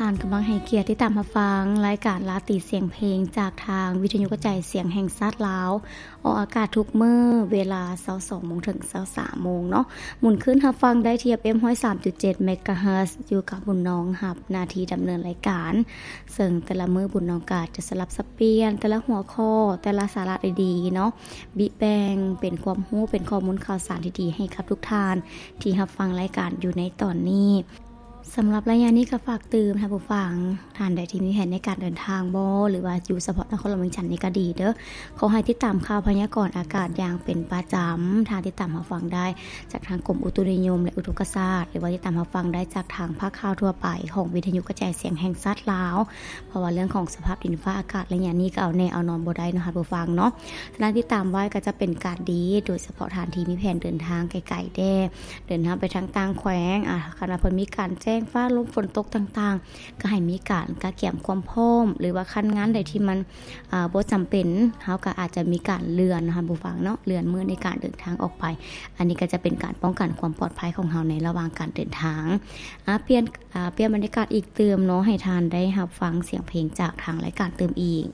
ທ່ານກຳລັງໃຫ້ກຽດຕິດຕາມຮັບຟັງລາຍການລາຕີສຽງເພງ ຈາກທາງວິທະຍຸກະຈາຍສຽງແຫ່ງຊາດລາວ ອອກອາກາດທຸກມື້ເວລາຊາວສອງໂມງເຖິງຊາວສາມໂມງເນາະ. ໝູນຄື້ນຮັບຟັງໄດ້ທີ່ ເອັຟເອັມຮ້ອຍສາມຈຸດເຈັດເມກາເຮີດ ຢູ່ກັບບຸນນອງຮັບໜ້າທີ່ດຳເນີນລາຍການ, ເຊິ່ງແຕ່ລະມື້ບຸນນອງກະຈະສະຫຼັບສັບປ່ຽນແຕ່ລະຫົວຂໍ້ ແຕ່ລະສາລະດີໆເນາະ ບິແບ່ງເປັນຄວາມຮູ້ ເປັນຂໍ້ມູນຂ່າວສານດີໆໃຫ້ກັບທຸກທ່ານທີ່ຮັບຟັງລາຍການຢູ່ໃນຕອນນີ້. ສຳລັບໄລຍະນີ້ກໍຝາກເຕືອນທ່ານຜູ້ຟັງ ທ່ານໃດທີ່ມີແຜນໃນການເດີນທາງບໍ່ ຫຼືວ່າຢູ່ສະເພາະນະຄອນຫຼວງວຽງຈັນນີ້ກໍດີເດີ້ ຂໍໃຫ້ຕິດຕາມຂ່າວພະຍາກອນອາກາດຢ່າງເປັນປະຈຳ. ທ່ານຕິດຕາມຮັບຟັງໄດ້ຈາກທາງກົມອຸຕຸນິຍົມ ແລະ ອຸທົກກະສາດ ຫຼືວ່າຕິດຕາມຮັບຟັງໄດ້ຈາກທາງພາກຂ່າວທົ່ວໄປຂອງວິທະຍຸກະຈາຍສຽງແຫ່ງຊາດລາວ ເພາະວ່າເລື່ອງຂອງສະພາບດິນຟ້າອາກາດໄລຍະນີ້ກໍເອົາແນ່ເອົານອນບໍ່ໄດ້ເນາະ ທ່ານຜູ້ຟັງເນາະ. ສະນັ້ນຕິດຕາມໄວ້ກໍຈະເປັນການດີ ໂດຍສະເພາະທ່ານທີ່ມີແຜນເດີນທາງໄກໆແດ່ ເດີນທາງໄປທາງຕ່າງແຂວງ ອາ ຄັນວ່າເພິ່ນມີການແຈ້ງຟ້າລົມຝົນຕົກຕ່າງໆ ກໍໃຫ້ມີການກະກຽມຄວາມພ້ອມ ຫຼືວ່າຄັນງານໃດທີ່ມັນ ອາ ບໍ່ຈຳເປັນ ເຮົາກໍອາດຈະມີການເລື່ອນເນາະ ທ່ານຜູ້ຟັງເນາະ ເລື່ອນມື້ໃນການເດີນທາງອອກໄປ. ອັນນີ້ກໍຈະເປັນການປ້ອງກັນຄວາມປອດໄພຂອງເຮົາໃນລະຫວ່າງການເດີນທາງ. ອາ ປ່ຽນ ອາ ປ່ຽນບັນຍາກາດອີກຕື່ມເນາະ ໃຫ້ທ່ານໄດ້ຮັບຟັງສຽງເພງຈາກທາງລາຍການຕື່ມອີກ.